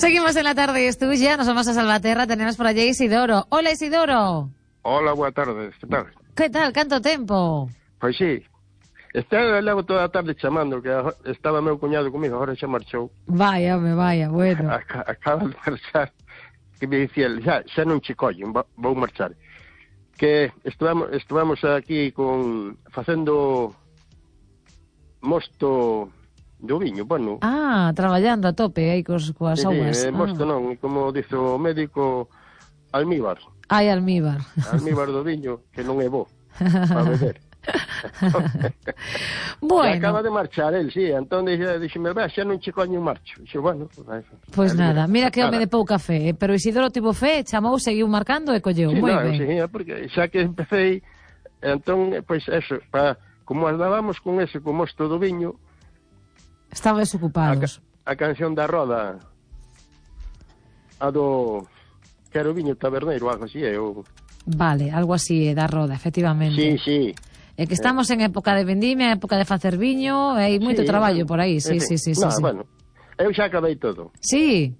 Seguimos en la tarde, es tuya, nos vamos a Salvaterra, tenemos por allí Isidoro. Hola, Isidoro. Hola, boa tarde, que tal? Que tal, canto tempo? Pois sí, levo toda a tarde chamando, que estaba meu cuñado comigo, agora xa marchou. Vaya, bueno. Acaba de marchar, que me dicía, xa non che collen, vou marchar. Que estuvamos aquí facendo mosto do viño, bueno. Ah, traballando a tope aí coas augas. Mosto non, como dice o médico, almíbar. Ai, almíbar. Almíbar do viño, que non é bo para beber. Bueno. Acaba de marchar el, sí, entón dixeme, xa non che coño marcho. Dixo, bueno, pois nada, mira que home de pouca fe, pero Isidoro tivo fe, chamou, seguiu marcando e colleu, moi ben. Sí, porque xa que empecé, entón, pois eso, como andábamos con ese, con mosto do viño, estaban desocupados. A canción da Roda, a do... que era o viño taberneiro, algo así, Vale, algo así, da Roda, efectivamente. Sí. É que estamos en época de vendimia, época de facer viño, e hai moito traballo por aí, sí. Bueno, eu xa acabei todo. Sí?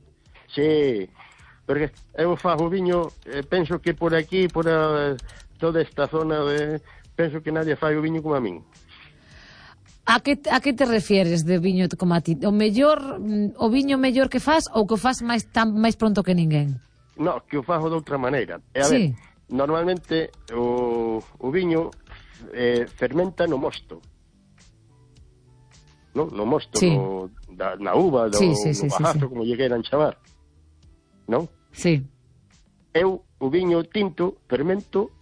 Sí, porque eu fago viño, penso que por aquí, por toda esta zona, penso que nadie fai o viño como a min. A que te refieres de viño como a ti? O viño mellor que faz ou que o faz máis pronto que ninguén? No, que o fago de outra maneira. A ver, normalmente o viño fermenta no mosto. No mosto, na uva, no bajazo, como lle queiran chamar. Non? Sí. Eu, o viño tinto, fermento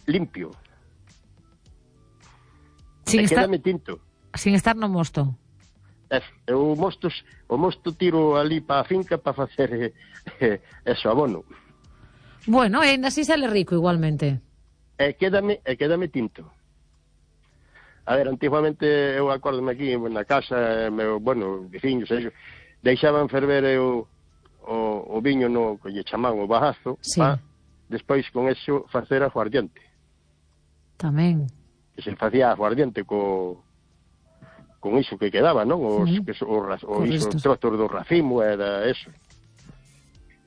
limpio. Quédame tinto. Sin estar no mosto. O mosto tiro ali para a finca para facer eso, abono. Bueno, ainda así sale rico igualmente. Quédame tinto. A ver, antiguamente eu acordome aquí na casa, veciños, deixaban ferver o viño no que lle chamaban o bajazo, despois con eso facer aguardiente. Tamén. Que se facía aguardiente con iso que quedaba, non? Os trozos do racimo, era eso.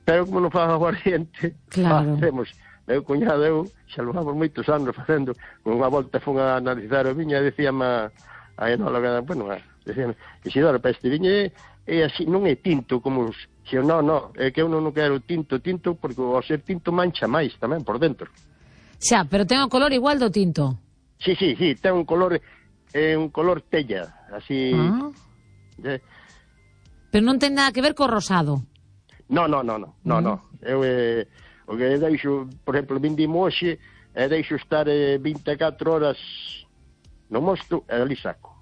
Pero como non faz aguardiente, facemos, meu cuñado eu, xa lo vamos moitos anos facendo, con unha volta fun a analizar o viño e dicíame a enóloga, dicíame, Isidoro, para este viño é así, non é tinto como os... No, é que eu non quero tinto, porque ao ser tinto mancha máis tamén por dentro. Xa, pero ten o color igual do tinto. Sí, ten un color tella, así... Pero non ten nada que ver co rosado. No. Eu, o que deixo, por exemplo, vindimo hoxe, deixo estar 24 horas no mosto, e ali saco.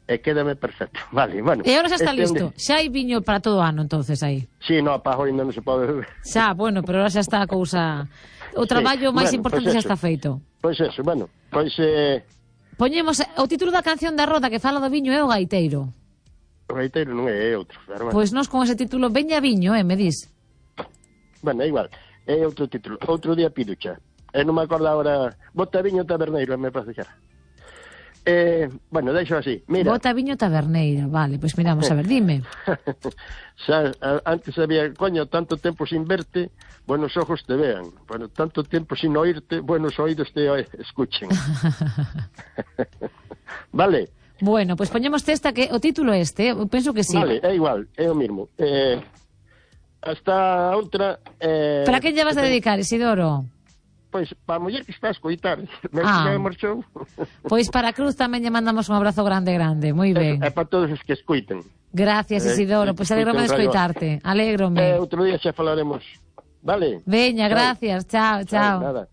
E quédame perfecto. Vale, bueno. E agora xa está listo. Xa hai viño para todo o ano, entonces, aí. Sí, no, para hoy non se pode beber. Xa, bueno, pero agora xa está a cousa... O traballo máis importante xa está feito. Pois eso, bueno, Poñemos o título da canción da Roda que fala do viño é o gaiteiro. O gaiteiro non é outro. Pois nós con ese título, veña viño, me dis? Bueno, é igual, é outro título. Outro día piducha. Non me acordo agora... Bota viño taberneiro, me parece que era. Bueno, deixo así, mira. Bota viño taberneiro, vale, pois miramos, a ver, dime. Antes había, coño, tanto tempo sin verte, buenos ojos te vean. Bueno, tanto tempo sin oírte, buenos oídos te escuchen. Vale. Bueno, pois poñemos esta que o título eu penso que sí. Vale, é igual, é o mismo. Hasta outra... Para que lle vas a dedicar, Isidoro? Pois, para a muller que está a escoitar. Me marchou. Pois para a Cruz tamén lle mandamos un abrazo grande, moi ben. É para todos os que escoiten. Gracias, Isidoro, pois alegrome de escoitarte. Alégrome. Outro día xa falaremos. Vale. Veña, gracias, chao. Nada.